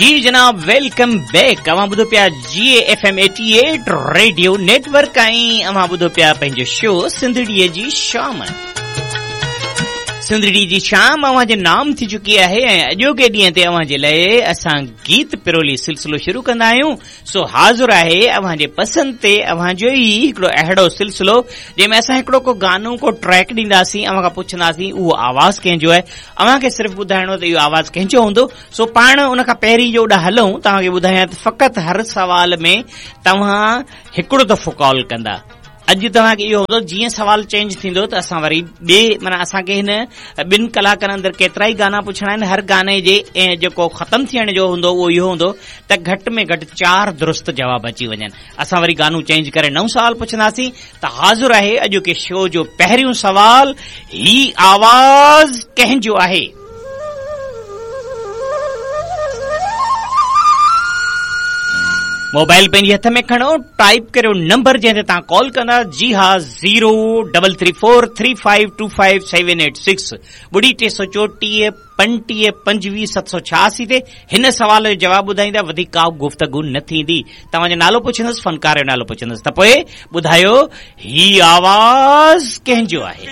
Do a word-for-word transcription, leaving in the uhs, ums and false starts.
जी जनाब, welcome back. अवां ॿुधो पिया G F M eighty eight radio network ऐं अवां ॿुधो पिया पंहिंजो शो सिंधड़ीअ जी शाम। सिंधड़ी जी शाम अवां जे नाम थी चुकी आहे ऐं अॼोके ॾींहं ते अवां जे लाइ असां गीत पिरोली सिलसिलो शुरू कंदा आहियूं। सो हाज़िर आहे अवां जे पसंदि ते अवां जो ई हिकिड़ो अहिड़ो सिलसिलो जंहिंमें असां हिकिड़ो को गानो को ट्रैक ॾींदासीं, अवां खां पुछंदासीं उहो आवाज़ कंहिंजो आहे, अवां खे सिर्फ़ु ॿुधाइणो त इहो आवाज़ कंहिंजो हूंदो। सो पाण उन खां पहिरीं जो ओॾा हलूं, तव्हांखे ॿुधायां त फ़क़ति हर सवाल में तव्हां हिकिड़ो दफ़ो कॉल कंदा। अॼु तव्हांखे इहो हूंदो जीअं सवाल चेंज थींदो त असां वरी ॿिए माना असांखे हिन ॿिनि कलाकनि अंदरि केतिरा ई गाना पुछणा आहिनि। हर गाने जे ऐं जेको ख़तमु थियण जो हूंदो उहो इहो हूंदो त घटि में घटि चारि दुरुस्त जवाब अची वञनि। असां वरी गानो चेंज करे नओं सवाल पुछंदासीं। त हाज़िर आहे अॼोके शो जो पहिरियों सवाल, ही आवाज़ कंहिंजो आहे? मोबाइल पंहिंजे हथ में खणो, टाइप करियो नंबर जंहिं ते तव्हां कॉल कंदा। जी हा, zero double three four three five two five seven eight six ॿुड़ी टे सौ चोटीह पंटीह पंजवीह सत सौ छयासी ते हिन सवाल जो जवाबु ॿुधाईंदा। वधीक का गुफ्तगू न थींदी। तव्हांजो नालो पुछंदुसि, फनकार जो नालो पुछंदुसि त पोइ ॿुधायो ही आवाज़ कंहिंजो आहे।